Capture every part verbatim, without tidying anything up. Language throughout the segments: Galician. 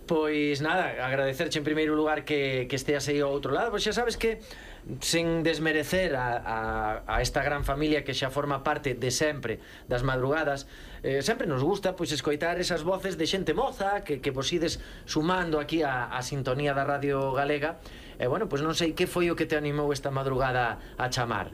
Pois nada, agradecerche en primeiro lugar que, que esteas aí ao outro lado. Pois xa sabes que, sen desmerecer a, a, a esta gran familia que xa forma parte de sempre das madrugadas, eh, sempre nos gusta pois escoitar esas voces de xente moza que, que vos ides sumando aquí a, a sintonía da Radio Galega. E eh, bueno, pois non sei que foi o que te animou esta madrugada a chamar.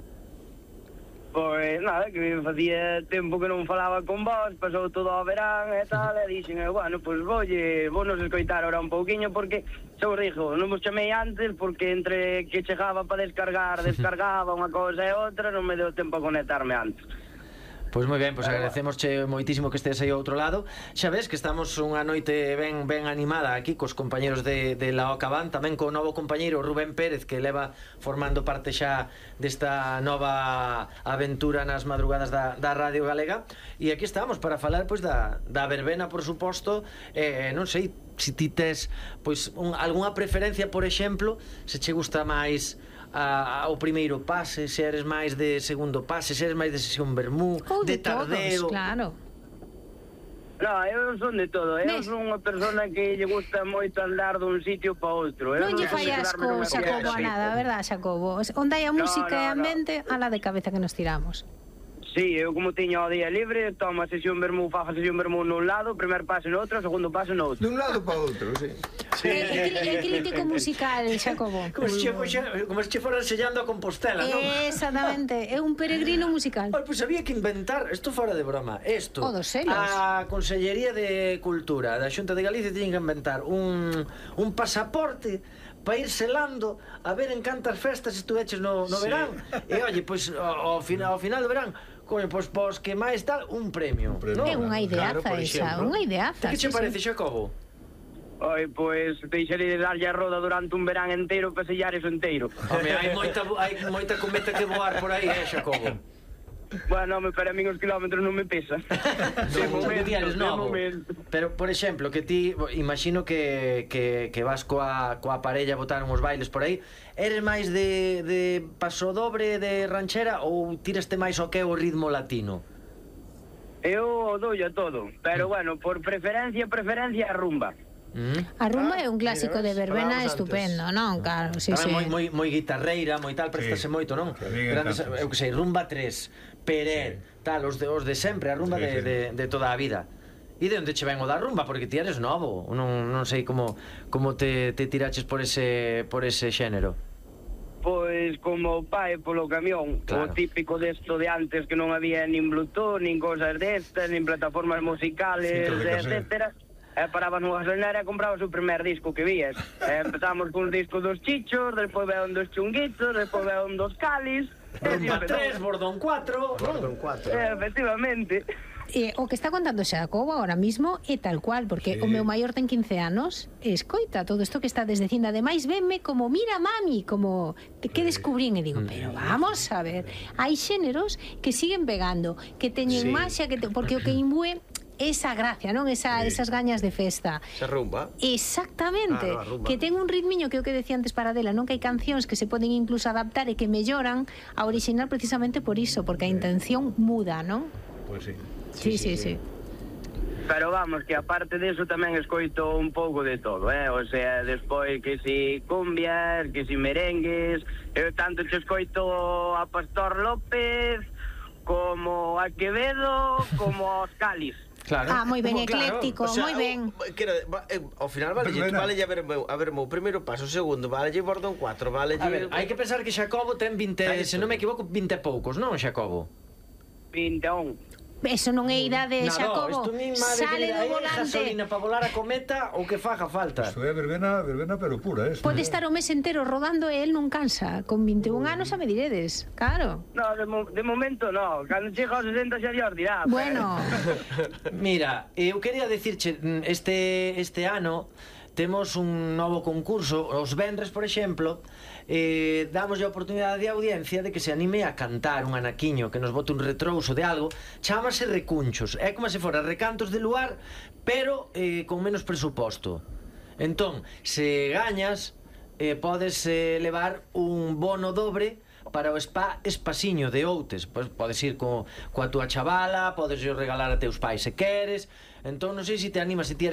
Pois nada, que facía tempo que non falaba con vos, pasou todo o verán e tal, e dixen, eh, bueno, pois volle, vos nos escoitar ahora un pouquiño, porque, xa vos dixo, non vos chamei antes, porque entre que chegaba para descargar, descargaba unha cousa e outra, non me deu tempo a conectarme antes. Pois moi ben, pois agradecemosche moitísimo que estés aí ao outro lado. Xa ves que estamos unha noite ben ben animada aquí cos compañeros de, de la Ocaban, tamén co novo compañeiro Rubén Pérez, que leva formando parte xa desta nova aventura nas madrugadas da, da Radio Galega. E aquí estamos para falar pois da, da verbena, por suposto. eh, Non sei se ti tes pois un, algunha preferencia, por exemplo, se che gusta máis A, ao primeiro pase, se eres máis de segundo pase, se eres máis de sesión vermú, ou de, de tardeo. todos, claro. No, eu son de todo, eu Nes? son unha persona que lle gusta moito andar dun sitio para outro. Non lle fai asco, Xacobo, a nada, verdad, Xacobo? Onde hai a música e a mente, a la de cabeza que nos tiramos. Sí, eu como tiño o día libre, tomo a sesión vermú, fajo a sesión vermú nun lado, primer paso no outro, segundo paso no outro. Dun lado para outro, sí. É crítico musical, Xacobo. Como se che, como se che foran sellando a Compostela, non? Exactamente, é un peregrino musical. Pois pues había que inventar, isto fora de broma, isto. O dos selos. A Consellería de Cultura da Xunta de Galicia tiñen que inventar un, un pasaporte para ir selando a ver en cantas festas estuveches no, no verán. E oye, pois ao, ao, final, ao final do verán, coño, pois, pois que máis tal, un premio, Un premio. ¿no? É unha ideaza Claro, por esa, exemplo. unha ideaza. Que che sí, parece, sí. Xacobo? Oi, pois deixarei de darlle a roda durante un verán inteiro para sellar eso inteiro. Home, hai moita, hai moita cometa que voar por aí, eh, Xacobo? Bueno, me para min os kilómetros non me pesan. De momento, de momento. Pero, por exemplo, que ti imagino que, que, que vas coa, coa parella a botar uns bailes por aí. Eres máis de, de paso dobre, de ranchera, ou tiraste máis o que é o ritmo latino? Eu dou a todo, pero bueno, por preferencia, preferencia a rumba. Mm. A rumba Ah, é un clásico mira, de verbena falábamos estupendo, antes. non? Claro, sí, sí. Moi, moi, moi guitarreira, moi tal, préstase Sí. moito, non? A mí me Grandes, encanta, eu que sei, rumba tres, Peret, Sí. tal, os de, os de sempre, a rumba Sí, de, sí. de, de toda a vida. E de onde che ven o da rumba? Porque ti eres novo, non, non sei como, como te, te tiraches por ese, por ese xénero. Pois como pai polo camión, Claro. o típico desto de antes que non había nin Bluetooth, nin cosas destas, nin plataformas musicales, Cinto de cassette. etcétera. E parabas nunha gasolinera e comprabas o primer disco que vías. E empezamos con os discos dos Chichos, despois veon dos Chunguitos, despois veon dos Calis. Rumba e tres, Bordón cuatro. Gordon cuatro. Eh, efectivamente. Eh, o que está contando Xacobo ahora mismo é tal cual, porque Sí. o meu maior ten quince anos e escoita todo isto que está dicindo. Ademais, venme como, mira mami, como que, que descubrín, e digo, pero vamos a ver, hai xéneros que siguen pegando, que teñen Sí. maxia, que te, porque o que imbue esa gracia, non? Esa, Sí. esas gañas de festa. Esa rumba. Exactamente, Ah, no, a rumba. que ten un ritmiño que é o que decía antes Paradela, non? Que hai cancións que se poden incluso adaptar e que melloran a original precisamente por iso, porque a intención muda, non? Pois sí. Sí, sí, sí. Pero vamos, que aparte deso tamén escoito un pouco de todo, eh? O sea, despois que si cumbias, que si merengues. Eu tanto che escoito a Pastor López como a Quevedo como aos Calis. Claro. Ah, moi ben, Como, claro. ecléctico, moi ben. Que era, va, eh, ao final vale, Verbena. vale a ver meu, a ver meu primeiro paso, o segundo, vale Bordón cuatro, vale. A ver, hai que pensar que Xacobo ten vinte, Aí se está. non me equivoco, vinte e poucos, non, Xacobo? vinte e un. Eso non é idade, Nada, Xacobo. isto mi madre Sale querida, do é volante. gasolina para volar a cometa ou que faga falta. Isto é verbena, verbena pero pura, eh? Pode estar o mes entero rodando e el non cansa. Con vinte e un anos xa me diredes. Claro. No, de, mo de momento no. Cando chega aos sesenta xa Dios dirá. Bueno, Mira, eu quería dicirche, este, este ano temos un novo concurso, os venres, por exemplo, eh, damos a oportunidade de audiencia de que se anime a cantar un anaquiño, que nos bote un retrouso de algo, chámase Recunchos, é como se fora recantos de luar, pero eh, con menos presuposto. Entón, se gañas, eh, podes eh, levar un bono dobre para o spa Espasiño de Outes. Pois podes ir co, coa túa chavala, podes ir regalar a teus pais se queres. Entón non sei se te animas, se ti eres